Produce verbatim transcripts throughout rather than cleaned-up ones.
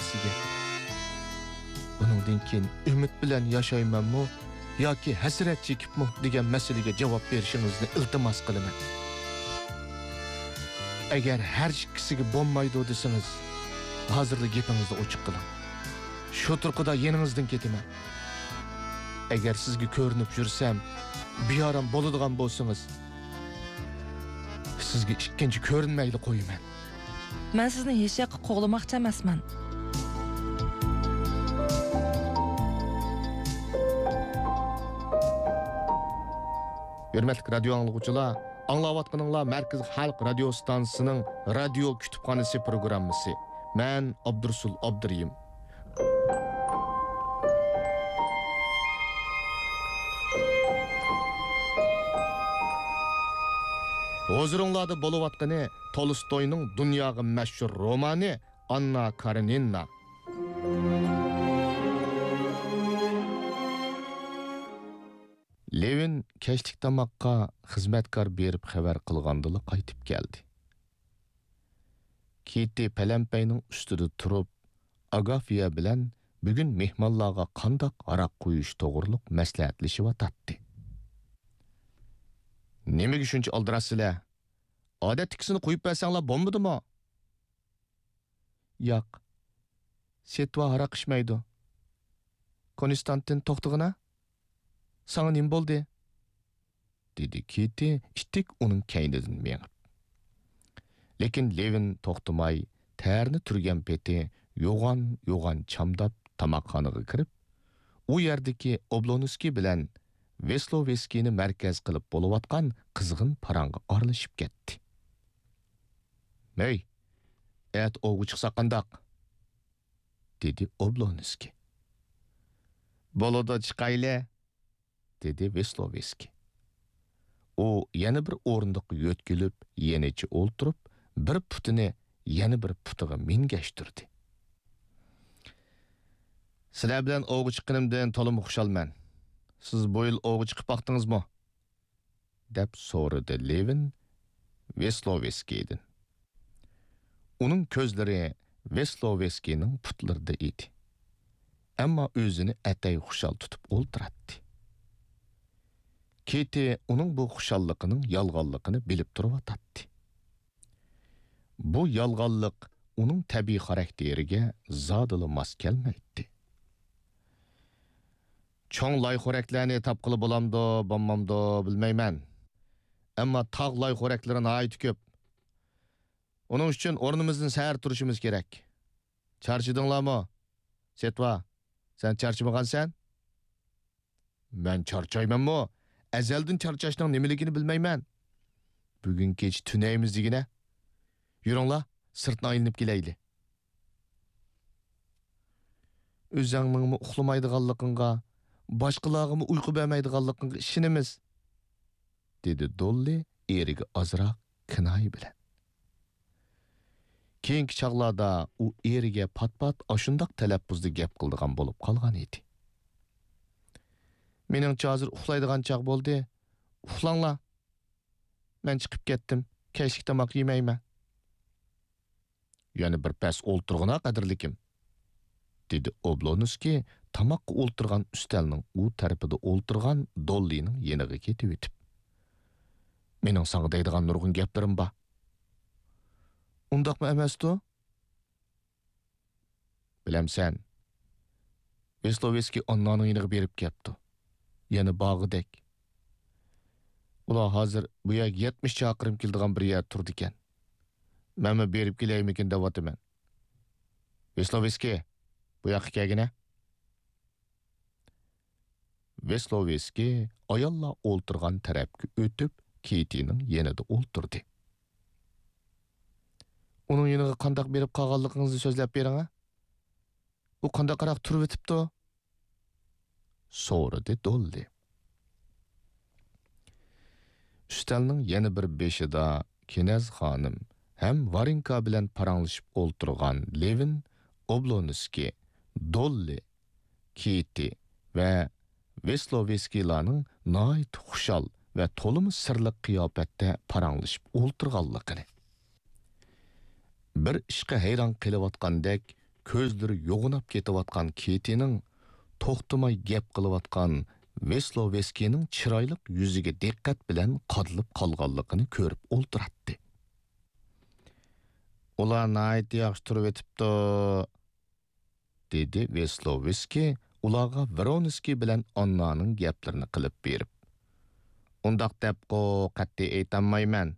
ئىككىسىگە. بۇنىڭدىن كېيىن ئۈمىد بىلەن ياشايمەنمۇ ياكى ھەسرەت چېكىپمۇ دېگەن مەسىلىگە جاۋاب بېرىشىڭىزنى ئىلتىماس قىلىمەن. ئەگەر ھەر ئىككىسىگە بولمايدۇ دېسىڭىز، ھازىرلا گېپىڭىزنى ئوچۇق قىلىڭ. شۇ تۇرقىدا يېنىڭىزدىن كېتىمەن. ئەگەر سىزگە كۆرۈنۈپ يۈرسەم، بىئارام بولىدىغان بولسىڭىز، سىزگە ئىككىنچى كۆرۈنمەيلا قويىمەن. مەن سىزنى ھېچ ياققا قوغلىماقچى ئەمەسمەن. ھۆرمەتلىك رادىيو ئاڭلىغۇچىلار، ئاڭلاۋاتقىنىڭلار مەركىزىي خەلق رادىيو ستانسىسىنىڭ رادىيو كۇتۇپخانىسى پروگراممىسى. مەن ئابدۇرۇسۇل ئابدۇرېھىم. ھۇزۇرۇڭلاردا بولۇۋاتقىنى تولستوينىڭ دۇنياغا مەشھۇر رومانى ئاننا كارېنىنا. لېۋىن كەچلىك تاماققا خىزمەتكار بېرىپ خەۋەر قىلغاندىلا قايتىپ كەلدى. كىتى پەلەمپەينىڭ ئۈستىدە تۇرۇپ، ئاگافيا بىلەن بۈگۈن مېھمانلارغا قانداق ھاراق قۇيۇش توغرۇلۇق مەسلىھەتلىشىۋاتاتتى. نېمىگە شۇنچە ئالدىراشسىلەر؟ ئادەتتىكىسىنى قۇيۇپ بەرسەڭلار بولمىدىمۇ؟ ياق. سېتۋا ھاراق ئىچمەيدۇ. كونستانتىن، توختىغىنا. ساڭا نېمە بولدى؟ دېدى كىتى ئىتتىك ئۇنىڭ كەينىدىن مېڭىپ. لېكىن لېۋىن توختىماي، تەرنى تۈرگەن پېتى يوغان-يوغان چامداپ تاماقخانىغا كىرىپ، ئۇ يەردىكى ئوبلونسكىي بىلەن ۋېسلوۋېسكىينى مەركەز قىلىپ بولۇۋاتقان قىزغىن پاراڭغا ئارىلىشىپ كەتتى. ھەي، ئەتە ئوۋغا چىقساق قانداق؟ دېدى ئوبلونسكىي. بولىدۇ، چىقايلى، دېدى ۋېسلوۋېسكىي. ئۇ يەنە بىر ئورۇندۇققا يۆتكىلىپ، يېنىچە ئولتۇرۇپ، بىر پۇتىنى يەنە بىر پۇتىغا مىنگەشتۈردى. سىلەر بىلەن ئوۋغا چىققىنىمدىن تولىمۇ خۇشالمەن. سىز بۇ يىل ئوۋغا چىقىپ باقتىڭىزمۇ؟ دەپ سورىدى لېۋىن ۋېسلوۋېسكىيدىن. ئۇنىڭ كۆزلىرى ۋېسلوۋېسكىينىڭ پۇتلىرىدا ئىدى. ئەمما ئۆزىنى ئەتەي خۇشال تۇتۇپ ئولتۇراتتى. كىتى ئۇنىڭ بۇ خۇشاللىقىنىڭ يالغانلىقىنى بىلىپ تۇرۇۋاتاتتى. بۇ يالغانلىق ئۇنىڭ تەبىئىي خاراكتېرىگە زادىلا ماس كەلمەيتتى. چوڭ لايخورەكلەرنى تاپقىلى بولامدۇ، بولمامدۇ بىلمەيمەن. ئەمما تاغ لايخورەكلىرى ناھايىتى كۆپ. ئۇنىڭ ئۈچۈن ئورنىمىزدىن سەھەر تۇرۇشىمىز كېرەك. چارچىدىڭلارمۇ؟ سېتۋا، سەن چارچىمىغانسەن؟ مەن چارچايمەنمۇ؟ ئەزەلدىن چارچاشنىڭ نېمىلىكىنى بىلمەيمەن. بۈگۈن كېچە تۈنەيمىز دېگىنە. يۈرۈڭلار، سىرتنى ئايلىنىپ كېلەيلى. ئۆزەڭنىڭمۇ ئۇخلىمايدىغانلىقىڭغا، باشقىلارغىمۇ ئۇيقۇ بەرمەيدىغانلىقىڭغا ئىشىنىمىز، دېدى دوللى ئېرىگە ئازراق كىنايە بىلەن. كېيىنكى چاغلاردا ئۇ ئېرىگە پات-پات ئاشۇنداق تەلەپپۇزدا گەپ قىلىدىغان بولۇپ قالغان ئىدى. مېنىڭچە ھازىر ئۇخلايدىغان چاغ بولدى. ئۇخلاڭلار. مەن چىقىپ كەتتىم. كەچلىك تاماق يېمەيمەن. يەنە بىر پەس ئولتۇرغىنا، قەدىرلىكىم، دېدى ئوبلونسكىي تاماققا ئولتۇرغان ئۈستەلنىڭ ئۇ تەرىپىدە ئولتۇرغان دوللىنىڭ يېنىغا كېتىۋېتىپ. مېنىڭ ساڭا دەيدىغان نۇرغۇن گەپلىرىم بار. ئۇنداقمۇ ئەمەستۇ؟ بىلەمسەن، ۋېسلوۋېسكىي ئاننانىڭ يېنىغا بېرىپ كەپتۇ. يەنە بارغۇدەك. ئۇلار ھازىر بۇ يەرگە يەتمىش چاقىرىم كېلىدىغان بىر يەردە تۇرىدىكەن. مەنمۇ بېرىپ كېلەيمىكىن دەۋاتىمەن. ۋېسلوۋېسكىي، بۇ ياققا كەلگىنە. ۋېسلوۋېسكىي ئاياللار ئولتۇرغان تەرەپكە ئۆتۈپ، كېتىنىڭ يېنىدا ئولتۇردى. ئۇنىڭ يېنىغا قانداق بېرىپ قالغانلىقىڭىزنى سۆزلەپ بېرىڭە. ئۇ قانداقراق تۇرۇۋېتىپتۇ؟ سورىدى دوللى. ئۈستەلنىڭ يەنە بىر بېشىدا كىنەز خانىم ھەم ۋارېنكا بىلەن پاراڭلىشىپ ئولتۇرغان لېۋىن ئوبلونسكىي، دوللى، كېتى ۋە ۋېسلوۋېسكىيلارنىڭ ناھايىتى خۇشال ۋە تولىمۇ سىرلىق قىياپەتتە پاراڭلىشىپ ئولتۇرغانلىقىنى، بىر ئىشقا ھەيران قېلىۋاتقاندەك كۆزلىرى يوغىناپ كېتىۋاتقان كېتىنىڭ توختىماي گەپ قىلىۋاتقان ۋېسلوۋېسكىينىڭ چىرايلىق يۈزىگە دىققەت بىلەن قادىلىپ قالغانلىقىنى كۆرۈپ ئولتۇراتتى. «ئۇلار ناھايىتى ياخشى تۇرۇۋېتىپتۇ»، دېدى ۋېسلوۋېسكىي ئۇلارغا ۋرونسكىي بىلەن ئاننانىڭ گەپلىرىنى قىلىپ بېرىپ. «ئۇنداق دەپقۇ قەتئىي ئېيتالمايمەن.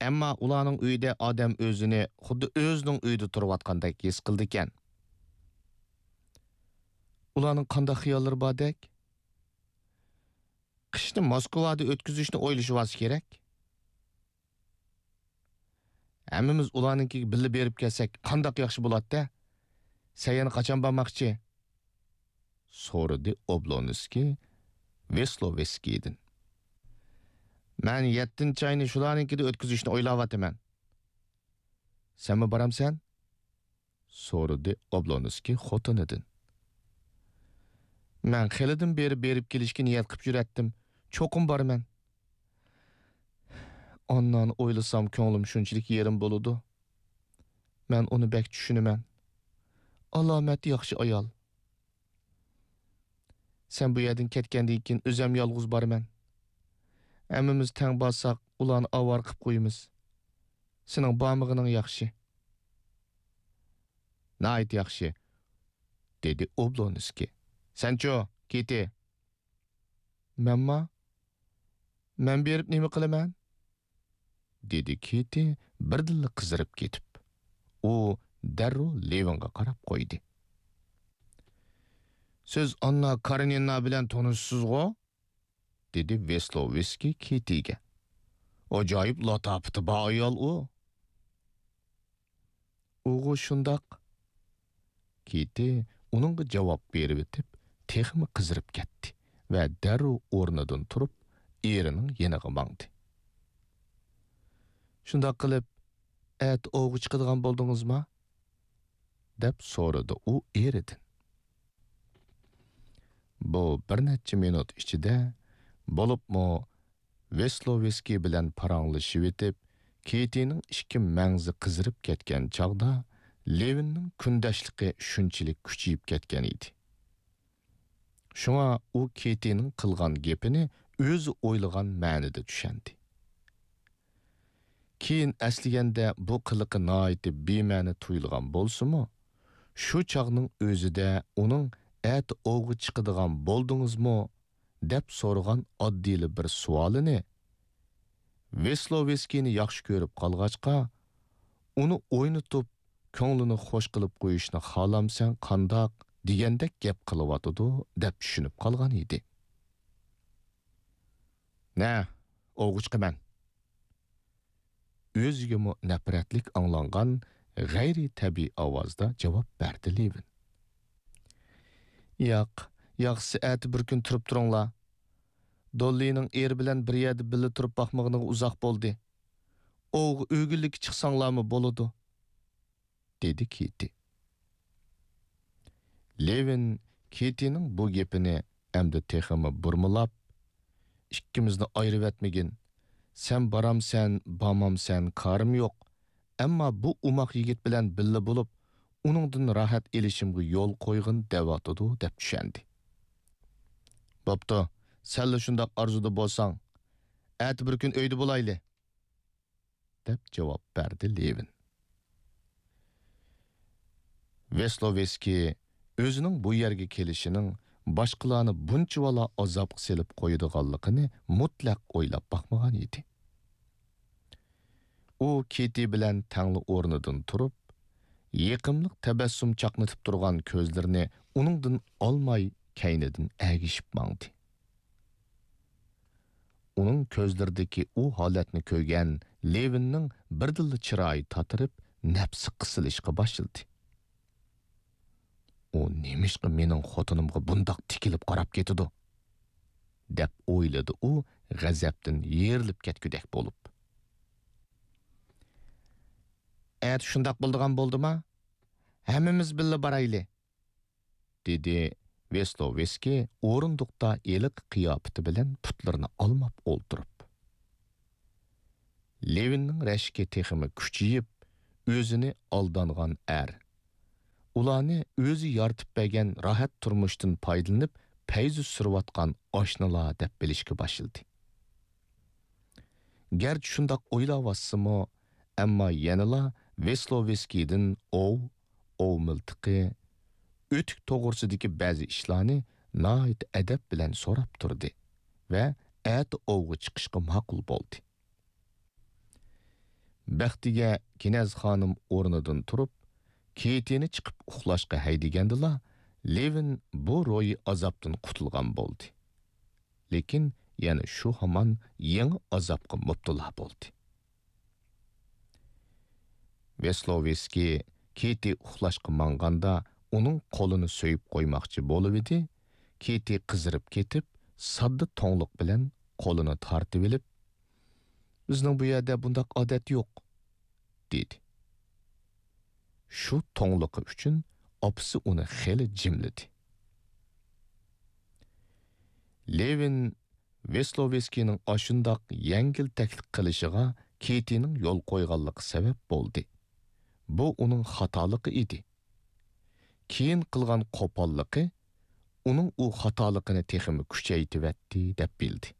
ئەمما ئۇلارنىڭ ئۆيىدە ئادەم ئۆزىنى خۇددى ئۆزىنىڭ ئۆيىدە تۇرۇۋاتقاندەك ھېس قىلىدىكەن.» «ئۇلارنىڭ قانداق خىياللىرى باردەك؟» «قىشنى موسكۋادا ئۆتكۈزۈشنى ئويلىشىۋالسا كېرەك.» «ھەممىمىز ئۇلارنىڭكىگە بىللە بېرىپ كەلسەك، قانداق ياخشى بولاتتى. سەن يەنە قاچان بارماقچى؟» سورىدى ئوبلونسكىي ۋېسلوۋېسكىيدىن. «مەن يەتتىنچى ئاينى شۇلارنىڭكىدە ئۆتكۈزۈشنى ئويلاۋاتىمەن.» «سەنمۇ بارامسەن؟» سورىدى ئوبلونسكىي خوتۇنىدىن. «مەن خېلىدىن بېرى بېرىپ كېلىشكە نىيەت قىپ يۈرەتتىم. چوقۇم بارىمەن.» «ئاننانى ئويلىسام، كۆڭلۈم شۇنچىلىك يېرىم بولىدۇ. مەن ئۇنى بەك چۈشىنىمەن. ئالامەت ياخشى ئايال.» «سەن بۇ يەردىن كەتكەندىن كېيىن ئۆزەم يالغۇز بارىمەن. ھەممىمىز تەڭ بارساق، ئۇلارنى ئاۋارە قىپ قويىمىز. سېنىڭ بارمىغىنىڭ ياخشى.» «ناھايىتى ياخشى.» دېدى ئوبلونسكىي. «سەنچۇ، كېتى؟» «مەنما؟ مەن بېرىپ نېمە قىلىمەن؟» دېدى كېتى بىردىنلا قىزىرىپ كېتىپ. ئۇ دەررۇ لېۋىنغا قاراپ قويدى. «سىز ئاننا كارېنىنا بىلەن تونۇشسىزغۇ؟» دېدى ۋېسلوۋېسكىي كېتىگە. «ئاجايىپ لاتاپىتى بار ئايال ئۇ.» «ئۇغۇ شۇنداق.» كېتى ئۇنىڭغا جاۋاب بېرىۋېتىپ، تېخىمۇ قىزىرىپ كەتتى ۋە دەررۇ ئورنىدىن تۇرۇپ، ئېرىنىڭ يېنىغا ماڭدى. «شۇنداق قىلىپ، ئەتە ئوۋغا چىقىدىغان بولدىڭىزما؟» دەپ سورىدى ئۇ ئېرىدىن. بۇ بىر نەچچە مىنۇت ئىچىدە، بولۇپمۇ ۋېسلوۋېسكىي بىلەن پاراڭلىشىۋېتىپ، كېتىنىڭ ئىككى مەڭزى قىزىرىپ كەتكەن چاغدا، لېۋىننىڭ كۈندەشلىكى شۇنچىلىك كۈچىيىپ كەتكەن ئىدى. شۇڭا ئۇ كېتىنىڭ قىلغان گېپىنى ئۆزى ئويلىغان مەنىدە چۈشەندى. كېيىن ئەسلىگەندە بۇ قىلىقى ناھايىتى بىمەنە تۇيۇلغان بولسىمۇ، شۇ چاغنىڭ ئۆزىدە ئۇنىڭ «ئەتە ئوۋغا چىقىدىغان بولدىڭىزمۇ؟» دەپ سورىغان ئاددىيلا بىر سوئالىنى ۋېسلوۋېسكىينى ياخشى كۆرۈپ قالغاچقا، ئۇنى ئوينىتىپ، كۆڭلىنى خوش قىلىپ قويۇشنى خالامسەن قانداق دېگەندەك گەپ قىلىۋاتىدۇ دەپ چۈشىنىپ قالغان ئىدى. «نە، ئوۋغا چىقىمەن.» ئۆزىگىمۇ نەپرەتلىك ئاڭلانغان غەيرىي تەبىئىي ئاۋازدا جاۋاب بەردى لېۋىن. «ياق، ياخشىسى ئەتە بىر كۈن تۇرۇپ تۇرۇڭلار. دوللىنىڭ ئېرى بىلەن بىر يەردە بىللە تۇرۇپ باقمىغىنىغا ئۇزاق بولدى. ئوۋغا ئۆگۈنلۈككە چىقساڭلارمۇ بولىدۇ.» دېدى كېتى. لېۋىن كېتىنىڭ بۇ گېپىنى ئەمدى تېخىمۇ بۇرمىلاپ، «ئىككىمىزنى ئايرىۋەتمىگىن. سەن بارامسەن، بارمامسەن، كارىم يوق. ئەمما بۇ ئوماق يىگىت بىلەن بىللە بولۇپ، ئۇنىڭدىن راھەت ئېلىشىمغا يول قويغىن دەۋاتىدۇ» دەپ چۈشەندى. «بوپتۇ، سەنلا شۇنداق ئارزۇدا بولساڭ، ئەتە بىر كۈن ئۆيدە بولايلى.» دەپ جاۋاب بەردى لېۋىن. ۋېسلوۋېسكىي ئۆزىنىڭ بۇ يەرگە كېلىشىنىڭ باشقىلارنى بۇنچىۋالا ئازابقا سېلىپ قويىدىغانلىقىنى مۇتلەق ئويلاپ باقمىغان ئىدى. ئۇ كېتى بىلەن تەڭلا ئورنىدىن تۇرۇپ، يېقىملىق تەبەسسۇم چاقنىتىپ تۇرغان كۆزلىرىنى ئۇنىڭدىن ئالماي، كەينىدىن ئەگىشىپ ماڭدى. ئۇنىڭ كۆزلىرىدىكى ئۇ ھالەتنى كۆرگەن لېۋىننىڭ بىردىنلا چىرايى تاتىرىپ، نەپسى قىسىلىشقا باشلىدى. «ئۇ نېمىشقا مېنىڭ خوتۇنۇمغا بۇنداق تىكىلىپ قاراپ كېتىدۇ؟» دەپ ئويلىدى ئۇ غەزەپتىن يېرىلىپ كەتكۈدەك بولۇپ. «ئەتە شۇنداق بولىدىغان بولدىما؟ ھەممىمىز بىللە بارايلى.» دېدى ۋېستوۋېسكىي ئورۇندۇقتا ھېلىقى قىياپىتى بىلەن پۇتلىرىنى ئالماپ ئولتۇرۇپ. لېۋىننىڭ رەشكى تېخىمۇ كۈچىيىپ، ئۆزىنى ئالدانغان ئەر، ئۇلارنى ئۆزى يارىتىپ بەرگەن راھەت تۇرمۇشتىن پايدىلىنىپ پەيزى سۈرۈۋاتقان ئاشنىلار دەپ بىلىشكە باشلىدى. گەرچە شۇنداق ئويلاۋاتسىمۇ، ئەمما يەنىلا ۋېسلوۋېسكىيدىن ئوۋ، ئوۋ مىلتىقى، ئۆتۈك توغرىسىدىكى بەزى ئىشلارنى ناھايىتى ئەدەپ بىلەن سوراپ تۇردى ۋە ئەتە ئوۋغا چىقىشقا ماقۇل بولدى. بەختىگە كىنەز خانىم ئورنىدىن تۇرۇپ، كېتىنى چىقىپ ئۇخلاشقا ھەيدىگەندىلا، لېۋىن بۇ روھىي ئازابتىن قۇتۇلغان بولدى. لېكىن يەنە شۇ ھامان يېڭى ئازابقا مۇپتىلا بولدى. ۋېسلوۋېسكىي كېتى ئۇخلاشقا ماڭغاندا ئۇنىڭ قولىنى سۆيۈپ قويماقچى بولۇۋىدى، كېتى قىزىرىپ كېتىپ، ساددا توڭلۇق بىلەن قولىنى تارتىۋېلىپ، «بىزنىڭ بۇ يەردە بۇنداق ئادەت يوق» دېدى. شۇ توڭلۇقى ئۈچۈن ئاپىسى ئۇنى خېلى جىملىدى. لېۋىن ۋېسلوۋېسكىينىڭ ئاشۇنداق يەڭگىل تەكلىپ قىلىشىغا كېتىنىڭ يول قويغانلىقى سەۋەب بولدى. بۇ ئۇنىڭ خاتالىقى ئىدى. كېيىن قىلغان قوپاللىقى ئۇنىڭ ئۇ خاتالىقىنى تېخىمۇ كۈچەيتىۋەتتى دەپ بىلدى.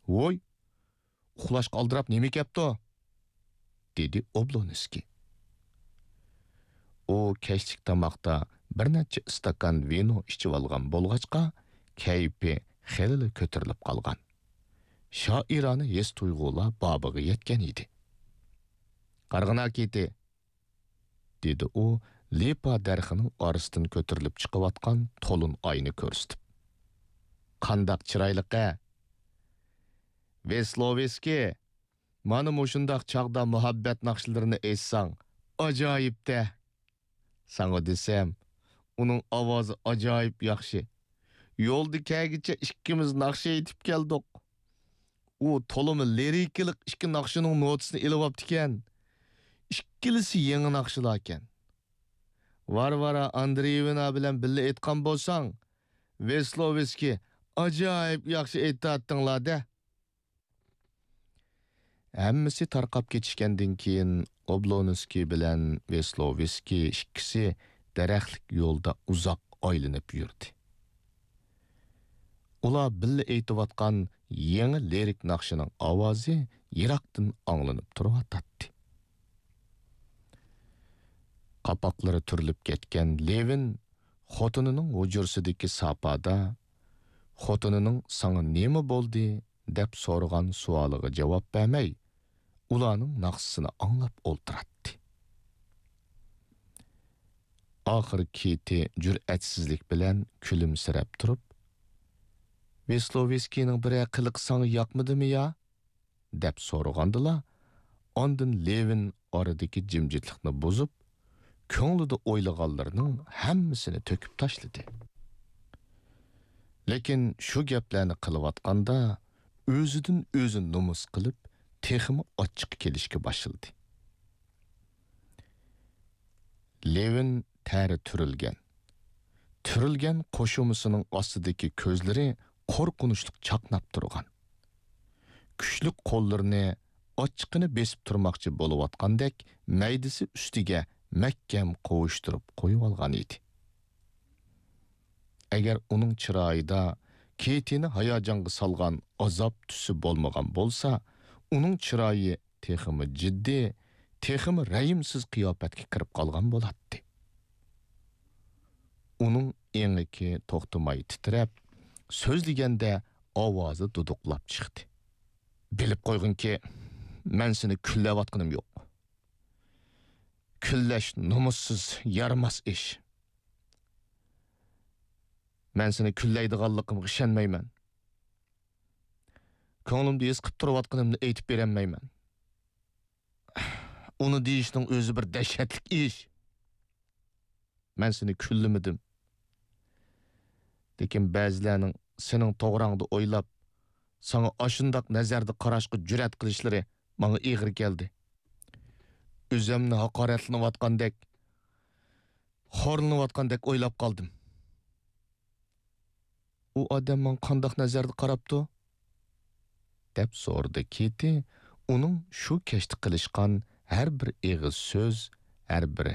«ۋوي، ئۇخلاشقا ئالدىراپ نېمە كەپتۇ؟» دېدى ئوبلونسكىي. ئۇ كەچلىك تاماقتا بىر نەچچە ئىستاكان ۋىنو ئىچىۋالغان بولغاچقا، كەيپى خېلىلا كۆتۈرۈلۈپ قالغان. شائىرانە ھېس-تۇيغۇلار بابىغا يەتكەن ئىدى. «قارىغىنا، كېتى!» دېدى ئۇ لىپا دەرىخىنىڭ ئارىسىدىن كۆتۈرۈلۈپ چىقىۋاتقان تولۇن ئاينى كۆرسىتىپ. «قانداق چىرايلىق-ھە! ۋېسلوۋېسكىي، مانا مۇشۇنداق چاغدا مۇھەببەت ناخشىلىرىنى ئېيتساڭ، ئاجايىپ-دە! ساڭا دېسەم، ئۇنىڭ ئاۋازى ئاجايىپ ياخشى. يولدا كەلگىچە ئىككىمىز ناخشا ئېيتىپ كەلدۇق. ئۇ تولىمۇ لىرىكىلىق ئىككى ناخشىنىڭ نوتىسىنى ئېلىۋاپتىكەن. ئىككىلىسى يېڭى ناخشىلاركەن. ۋارۋارا ئاندرېيېۋنا بىلەن بىللە ئېيتقان بولساڭ، ۋېسلوۋېسكىي، ئاجايىپ ياخشى ئېيتاتتىڭلار-دە.» ھەممىسى تارقاپ كېتىشكەندىن كېيىن، ئوبلونسكىي بىلەن ۋېسلوۋېسكىي ئىككىسى دەرەخلىك يولدا ئۇزاق ئايلىنىپ يۈردى. ئۇلار بىللە ئېيتىۋاتقان يېڭى لىرىك ناخشىنىڭ ئاۋازى يىراقتىن ئاڭلىنىپ تۇرۇۋاتاتتى. قاپاقلىرى تۈرۈلۈپ كەتكەن لېۋىن خوتۇنىنىڭ ھۇجرىسىدىكى ساپادا خوتۇنىنىڭ «ساڭا نېمە بولدى؟» دەپ سورىغان سوئالىغا جاۋاب بەرمەي، ئۇلارنىڭ ناخشىسىنى ئاڭلاپ ئولتۇراتتى. ئاخىرى كېتى جۈرئەتسىزلىك بىلەن كۈلۈمسىرەپ تۇرۇپ، «ۋېسلوۋېسكىينىڭ بىرەر قىلىقى ساڭا ياقمىدىمۇ يا؟» دەپ سورىغاندىلا، ئاندىن لېۋىن ئارىدىكى جىمجىتلىقنى بۇزۇپ، كۆڭلىدە ئويلىغانلىرىنىڭ ھەممىسىنى تۆكۈپ تاشلىدى. لېكىن شۇ گەپلەرنى قىلىۋاتقاندا، ئۆزىدىن ئۆزى نومۇس قىلىپ، تېخىمۇ ئاچچىقى كېلىشكە باشلىدى. لېۋىن تەرى تۈرۈلگەن. تۈرۈلگەن قوشۇمىسىنىڭ ئاستىدىكى كۆزلىرى قورقۇنچلۇق چاقناپ تۇرغان. كۈچلۈك قوللىرىنى ئاچچىقىنى بېسىپ تۇرماقچى بولۇۋاتقاندەك مەيدىسى ئۈستىگە مەھكەم قوۋۇشتۇرۇپ قويۇۋالغان ئىدى. ئەگەر ئۇنىڭ چىرايىدا كېتىنى ھاياجانغا سالغان ئازاب تۈسى بولمىغان بولسا، ئۇنىڭ چىرايى تېخىمۇ جىددىي، تېخىمۇ رەھىمسىز قىياپەتكە كىرىپ قالغان بولاتتى. ئۇنىڭ ئېڭىكى توختىماي تىترەپ، سۆزلىگەندە ئاۋازى دۇدۇقلاپ چىقتى. بىلىپ قويغىنكى، مەن سېنى كۈنلەۋاتقىنىم يوق. كۈنلەش نومۇسسىز، يارىماس ئىش. مەن سېنى كۈنلەيدىغانلىقىمغا ئىشەنمەيمەن. كۆڭلۈمدە ھېس قىلىپ تۇرۇۋاتقىنىمنى ئېيتىپ بېرەلمەيمەن. ئۇنى دېيىشنىڭ ئۆزى بىر دەھشەتلىك ئىش. مەن سېنى كۈنلىمىدىم. لېكىن بەزىلەرنىڭ سېنىڭ توغراڭدا ئويلاپ، ساڭا ئاشۇنداق نەزەردە قاراشقا جۈرئەت قىلىشلىرى ماڭا ئېغىر كەلدى. ئۆزۈمنى ھاقارەتلىنىۋاتقاندەك، خورلىنىۋاتقاندەك ئويلاپ قالدىم. «ئۇ ئادەم ماڭا قانداق نەزەردە قاراپتۇ؟» دەپ سورىدى كېتى، ئۇنىڭ شۇ كەچتە قىلىشقان ھەر بىر ئېغىز سۆز، ھەر بىر